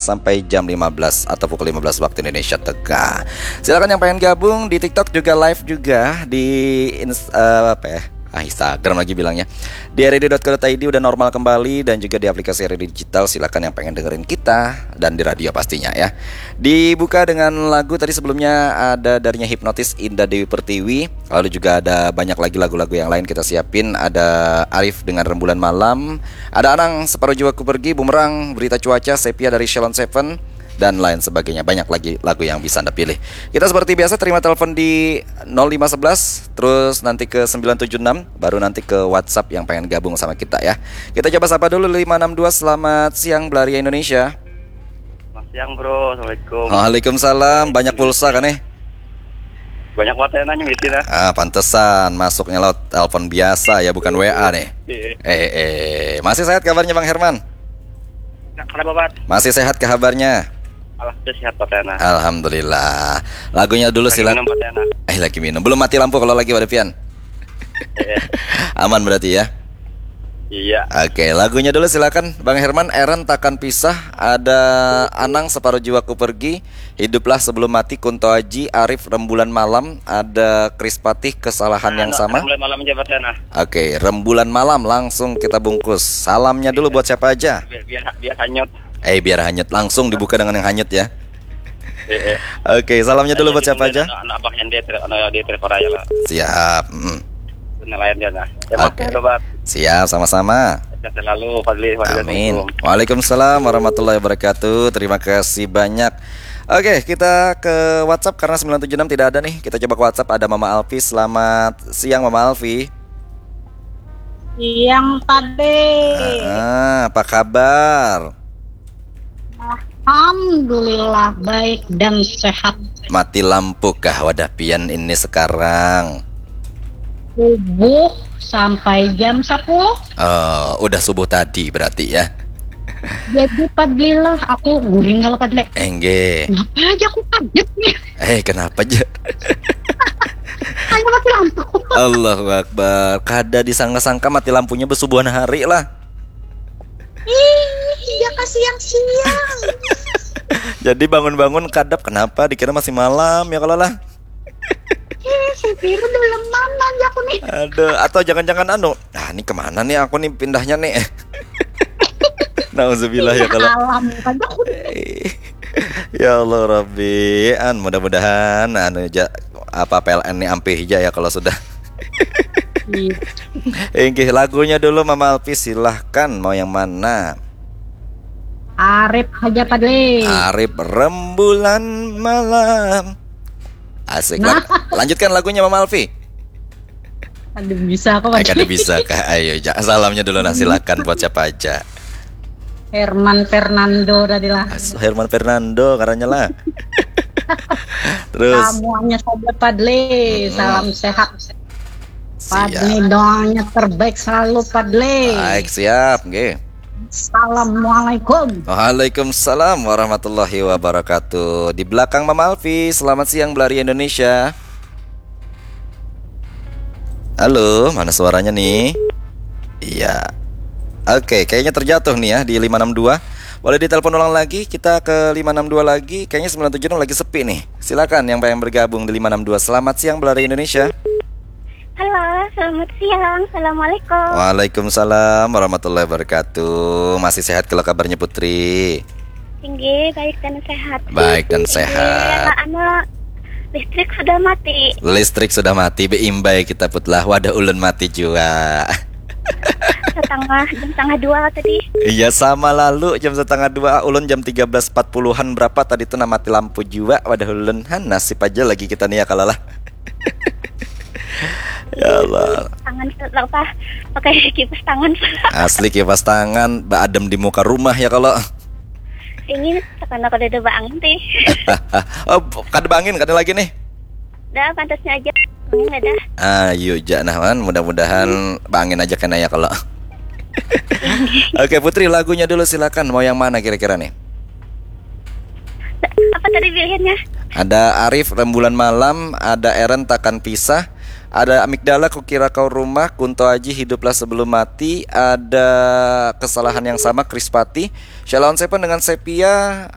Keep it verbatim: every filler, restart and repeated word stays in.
sampai jam lima belas atau pukul lima belas waktu Indonesia Tengah. Silakan yang pengen gabung di TikTok juga live juga di ins- eh, apa ya? Ah, Instagram lagi bilangnya. Di R R I D dot co dot I D udah normal kembali dan juga di aplikasi R R I D Digital. Silakan yang pengen dengerin kita dan di radio pastinya ya. Dibuka dengan lagu tadi sebelumnya ada darinya Hipnotis Indah Dewi Pertiwi. Lalu juga ada banyak lagi lagu-lagu yang lain kita siapin. Ada Arif dengan Rembulan Malam. Ada Anang Separuh Jiwaku Pergi, Bumerang, Berita Cuaca, Sepia dari Shalon Seven dan lain sebagainya. Banyak lagi lagu yang bisa Anda pilih. Kita seperti biasa terima telepon di nol lima sebelas, terus nanti ke sembilan tujuh enam, baru nanti ke WhatsApp yang pengen gabung sama kita ya. Kita coba sapa dulu lima enam dua. Selamat siang Belaria Indonesia. Selamat siang bro, assalamualaikum. Waalaikumsalam. Banyak pulsa kan eh? Banyak banget yang nanya di sini. Ah, pantesan masuknya lewat telepon biasa ya, bukan W A nih. Eh, eh, masih sehat kabarnya Bang Herman? Kenapa Bat? Masih sehat kabarnya? Alhamdulillah sehat Batena. Alhamdulillah. Lagunya dulu silakan. Minum Batena. Eh, lagi minum. Belum mati lampu kalau lagi pada pian. Eh, Aman berarti ya. iya. Oke, lagunya dulu silakan Bang Herman. Eren Takkan Pisah, ada Anang Separuh Jiwaku Pergi, Hiduplah Sebelum Mati, Kunto Aji, Arif Rembulan Malam, ada Kris Patih Kesalahan yang Anu, sama. Mulai malam aja Batena. Oke, Rembulan Malam langsung kita bungkus. Salamnya dulu buat siapa aja? Biar biar, biar hanyut. Eh, biar hanyut, langsung dibuka dengan yang hanyut ya. Eh, eh. Oke, salamnya dulu buat siapa aja? Anak, anak abang yang dia ter, anak dia ter Korea lah. Siap. Mm. Nelayan dia nah. Ya, Oke. Oke. Sobat. Siap, sama-sama. Sehat selalu Fadli. Fadli, Amin. Assalamualaikum. Waalaikumsalam warahmatullahi wabarakatuh. Terima kasih banyak. Oke, kita ke WhatsApp karena sembilan tujuh enam tidak ada nih. Kita coba ke WhatsApp, ada Mama Alfi. Selamat siang Mama Alfi. Siang Pade. Ah, apa kabar? Alhamdulillah baik dan sehat. Mati lampu kah wadah pian ini sekarang? Subuh sampai jam sepuluh. Eh, udah subuh tadi berarti ya. Jadi Padlilah aku guring kalau Padle. Enggih. Kenapa aja aku kaget nih? Eh, kenapa aja? Hanya mati lampu. Allahu Akbar. Kada disangka-sangka mati lampunya besubuhan hari lah. Ih, iya kasih yang siang. Jadi bangun-bangun kadap, kenapa dikira masih malam ya kalau lah. Ih, si Piru dalam mana aja aku nih? Aduh, atau jangan-jangan anu, ah, ini kemana nih aku nih pindahnya nih? Nauzubillah ya kalau. Alam kan aku. Ya Allah Rabbi, an mudah-mudahan anu ja, apa P L N nih ampih aja ya kalau sudah. Ih, Inggih, lagunya dulu Mama Alfi, silahkan, mau yang mana? Arif aja Padle. Arif Rembulan Malam. Asik. Lang- lanjutkan lagunya Mama Alfi. Aduh bisa aku Ay, Padle. kada bisa kah? Ayo, ja. Salamnya dulu nah, silakan buat siapa aja. Herman Fernando tadi lah. As- Herman Fernando karanya lah. Terus Semuanya saja Padle. Mm-mm. Salam sehat. siap. Padle doanya terbaik selalu Padle. Baik, siap, nggih. Assalamualaikum. Waalaikumsalam warahmatullahi wabarakatuh. Di belakang Mama Alfi, selamat siang Belari Indonesia. Halo, mana suaranya nih? Iya. Oke, kayaknya terjatuh nih ya di lima enam dua. Boleh ditelepon ulang lagi, kita ke lima enam dua lagi. Kayaknya sembilan tujuh enam lagi sepi nih. Silakan yang pengen bergabung di lima enam dua. Selamat siang Belari Indonesia. Halo, selamat siang. Assalamualaikum. Waalaikumsalam warahmatullahi wabarakatuh. Masih sehat kalau kabarnya Putri? Tinggi, baik dan sehat. Baik dan Tinggi, sehat. Anu, listrik sudah mati. Listrik sudah mati, beimbai kita Put lah. Wadah ulun mati jua. Setengah, jam setengah dua tadi. Iya, sama lalu jam setengah dua, ulun jam tiga belas empat puluhan berapa tadi tuh nah mati lampu jua. Wadah ulun, han, nasib aja lagi kita nih ya kalau lah. Ya Allah. Tangan apa? Pakai kipas tangan. Asli kipas tangan, beadem di muka rumah ya kalau. Ini karena kada ada bangin teh. Oh, kada bangin, kada lagi nih. Dah, pantasnya aja. Ini dah. Ayo ja nah man, mudah-mudahan bangin aja kena ya kalau. Oke Putri, lagunya dulu silakan. Mau yang mana kira-kira nih? Apa tadi pilihannya? Ada Arif Rembulan Malam, ada Eren Takkan Pisah, ada Amigdala Kukira Kau Rumah, Kunto Aji Hiduplah Sebelum Mati, ada Kesalahan Yang Sama Kris Patih, Shalon Seven dengan Sepia,